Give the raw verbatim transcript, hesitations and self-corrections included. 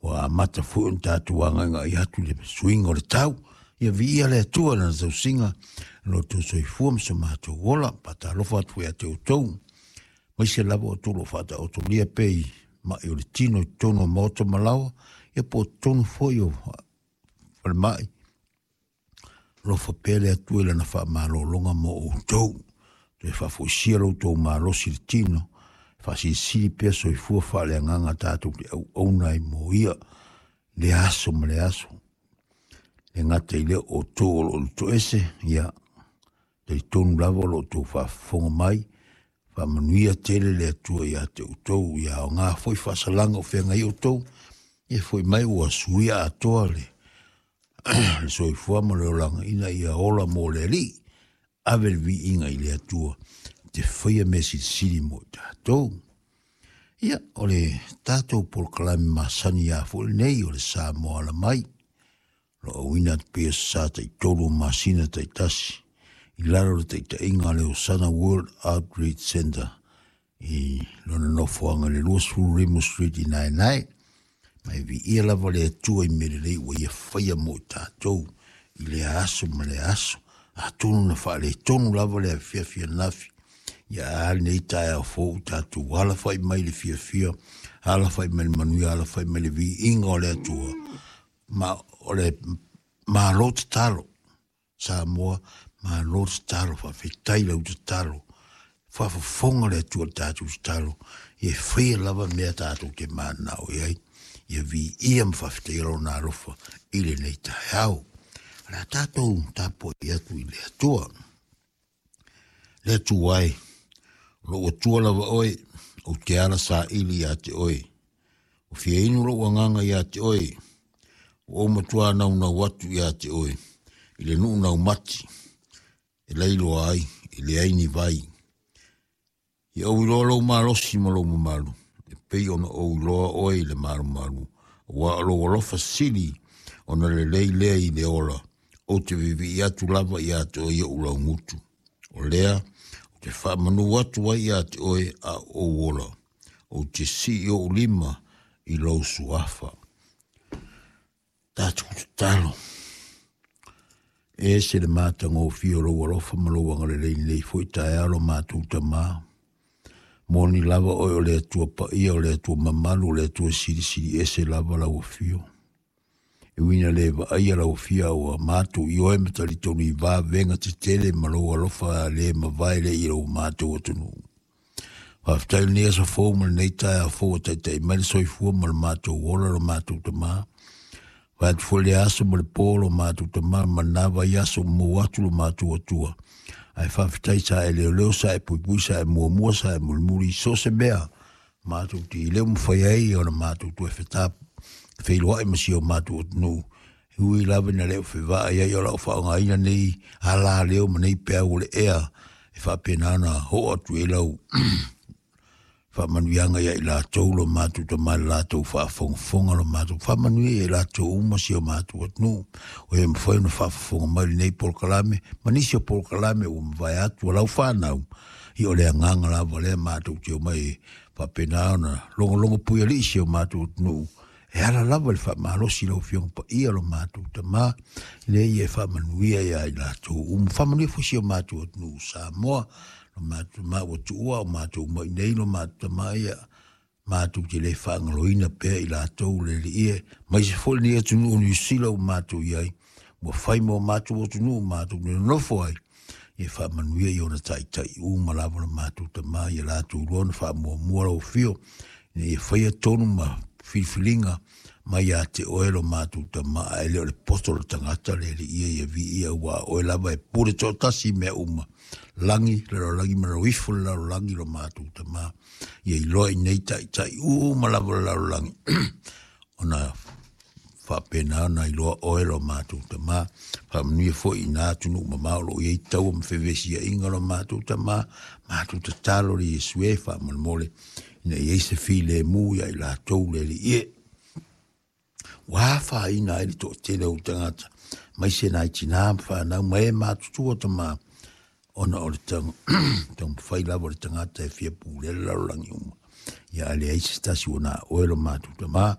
Ua amata foi ona tatou agaigai atu i le suiga o le tau. Ia viia le Atua i Lana tausiga i lo outou soifua ma so matou ola. Faatalofa atu foi ia te outou, aemaise lava outou o lo o faataotolia pea i mai o le tino i totonu o maota ma laoa, ia po o totonu foi o falemai. Alofa pea le Atua i Lana faamalologa mo outou. Toe faafoisia lo outou malosi i le tino, faasilisili pea soifua faaleagaga tatou te auauna ai mo ia i lea aso ma lea aso. E le gata i lea o outou o lo o lutoese, ia talitonu lava o lo o outou faafofoga mai, faamanuia tele le Atua ia te outou, ia aoga foi faasalaga o feagai outou, ia foi mai ua suia atoa le, le soifua ma le olaga ina ia ola mo le Alii. Ave le viiga i le Atua te faia mea silisili mo i tatou. Ia, o le tatou polokalame masani ia foi lenei o le Samoa Ala Mai. Lo auina atu pea sa taitolu o masina taitasi i lalo o le taitaiga a le Osana World Outreach Center i lona nofoaga i le luasefulu Rimu Street i Naenae. Ma e viia lava le Atua i mea lelei ua ia faia mo i tatou i lea aso ma lea aso. Atonu na faaletonu lava le afiafi ananafi, ia a lenei taeao fou tatou alafai mai le fiafia, alafai mai le manuia, alafai mai le viiga o le Atua. Ma o le malo tatalo, Samoa, malo tatalo, faafetai lau tatalo. Faafofoga le Atua i le tatou tatalo, ia e faia lava mea tatou te mananao i ai. Ia viia ma faafetaia lona alofa i lenei taeao. O le a tatou tapuai atu i le Atua. Le Atua e, o lou Atua lava oe, ou te ala saili ia te oe. Ua fia inu lou agaga ia te oe, ua ou matua naunau atu ia te oe, i le nuu naumati, e lailoa ai, e leai ni vai. Ia ou iloa lou malosi ma lou mamalu, e pei ona ou iloa oe i le malumalu, aua o lou alofa sili ona lelei lea i le ola, ou te viivii atu lava ia te oe i ou laugutu. O lea, ou te faamanu atu ai ia te oe a o ou ola, ou te sii ou lima i lou suafa. Tatou tatalo. E ese le matagofie o lou alofa ma lou agalelei nei foi taeao lo matou Tamā. Moni lava oe o le Atua paia, o le Atua mamalu, o le Atua silisili ese lava lau afio. E ui ina le vaaia lau afio ua matou ioe ma talitonu i vavega tetele ma lou alofa le mavae lea i lo matou atunuu. Faafetai lenei aso fou ma lenei taeao fou ua taitai mai le soifua ma le matou ola lo matou Tamā. Vae atu foi le aso ma le po lo matou Tamā ma lena vaiaso ua maua atu lo matou Atua. Ae faafetai sa e leoleo, sa e puipui, sa e muamua, sa e mulimuli i so o se mea matou te leo mafai ai ona matou toe feta feiloai ma si o matou atunuu. E ui lava ina le o fevaai ai o lau faaaogaina nei ala leo ma nei peau o le ea e faapena ona oo atu i ai lau faamanuiaga ia i latou lo matou Tamā i le latou faafogafoga, lo matou faamanuia ia i latou uma si o matou atunuu o e mafai ona faafofoga mai lenei polokalame ma nisi o polokalame ua mavae atu a lau fanau. Ia o le agaga lava lea matou te omai e faapena ona logologo puialii si o matou atunuu e ala lava i le faamalosi lau Afioga Paia lo matou Tamā, lea ia e faamanuia ia i latou uma. Faamanuia foi si o matou atunuu Samoa, lo matou Tamā ua tuua o matou mai nei lo matou Tamā, ia matou te le faagaloina pea i latou le Alii e, aemaise foi lenei atunuu o Niu Sila ua matou i ai, ua fai mo matou atunuu matou te nonofo ai. Ia faamanuia i ona taitai uma lava lo matou Tamā, ia latou iloa ona faamuamua lau afio, ina ia faia tonu ma filifiliga mai ia te oe lo matou Tamā, ae le o le poto o le tagata le Alii ia ia viia, aua o oe lava e pule toatasi i mea uma, lagi, lalolagi ma lalo ifo le lalolagi lo matou Tamā. Ia iloa i nei taitai uma lava le lalolagi ona faapena ona iloa oe lo matou Tamā. Faamanuia foi i nā atunuu mamao o lo o i ai taua ma fevesiaiga lo matou Tamā. Matou tatalo le Iesu e faamolemole ina ia i ai se filemu ia i latou le Alii e. Ua afaina ai le toatele o tagata, aemaise nai tinā ma fanau ma e matutua Tamā, ona o le taumafai lava o le tagata e fia pulea le lalolagi uma. Ia a leai se tasi ua na oe lo matou Tamā.